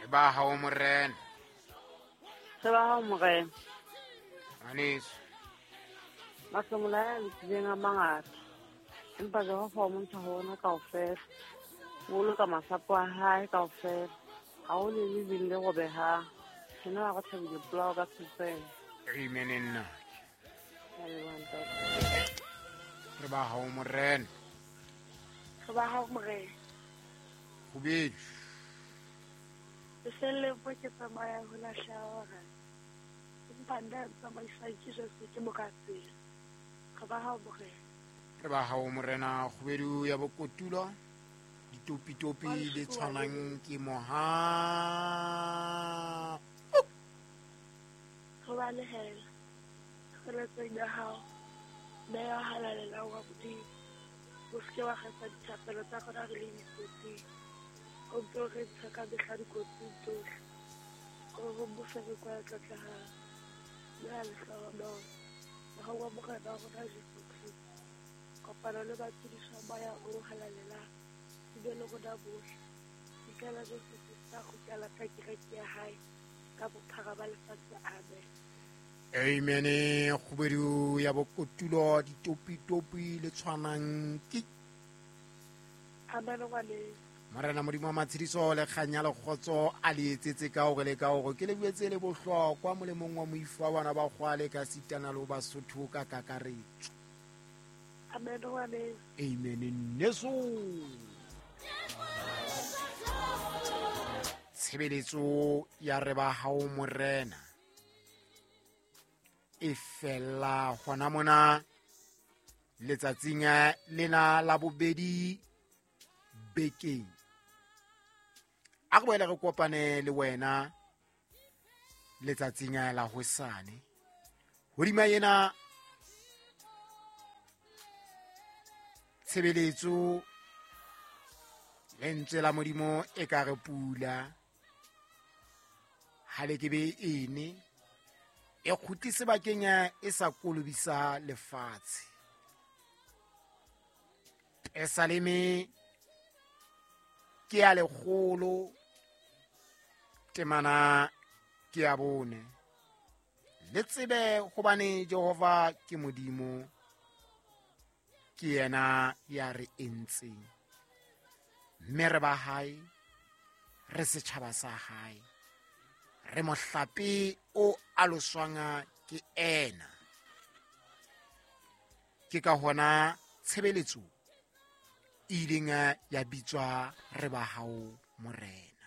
Ba hao Morena. Re ba hao Morena. Ngwaneso. Mahlomola a lokileng a mangata, empa Jehova o montsha ho ona kaofela. O boloka masapo a hae kaofela. Ha ho le le leng le robehang. Ke nna wa re thabile polao ka Tshoseng. Amen nna. Ke a leboha ntate. Re ba hao Morena. Re ba hao Morena. Kgubedu. Lefelleng mo ke tsamayang ho lahleha ba bangata, empa nna ya ntsamaisang ke Jesu ke moka tsela. Re ba hao Morena. Re ba hao Morena. Kgubedu ya bokotulo. Ditopitopi le tshwanang ke moha. Re balehela tshireletsong ya hao, Meya o halalelang wa Modimo. O se ke wa kgetha dithapelo tsa rona re le dikotsing. O mpe o re ntshe ka mehla dikotsing tsohle. O re mmuso re kwa tlotlehang. Mme a lehlohonolo. Mohau wa Morena wa rona Jesu Kreste. Kopano le batshediswa moya o halalelang. Di be le rona bohle. Fihlela Jesu Kreste a kgutlela ka kereke ya hae ka bophara ba lefatshe. Amen. Amen. Kgubedu ya bokotulo ditopitopi le tshwanang ke. Amen ngwaneso. Morena Modimo wa matshediso le kganya le kgotso a le etsetse ka hore le ka hore ke le buetse le bohlokwa molemong wa moifo wa bana ba kgwale ka sitana le ho Basotho ka kakaretso. Amen ngwaneso. Amen nneso. Tshebeletso ya re ba hao Morena e fella hona mona letsatsing lena la bobedi bekeng. A re boele re kopane le wena letsatsing la hosane. Hodima ena tshebeletso lentswe la Modimo e ka re pula ha le ke be ene e kgutlise bakeng e sa kolobisa lefatshe. Pesaleme ke ya 100 temana ke ya 4. Le tsebe hobane Jehova ke Modimo, ke yena ya re entseng, mme re ba hae, re setjhaba sa hae, re mohlape o aloswang ke ena. Ke ka hona tshebeletso e ileng ya bitswa re ba hao Morena.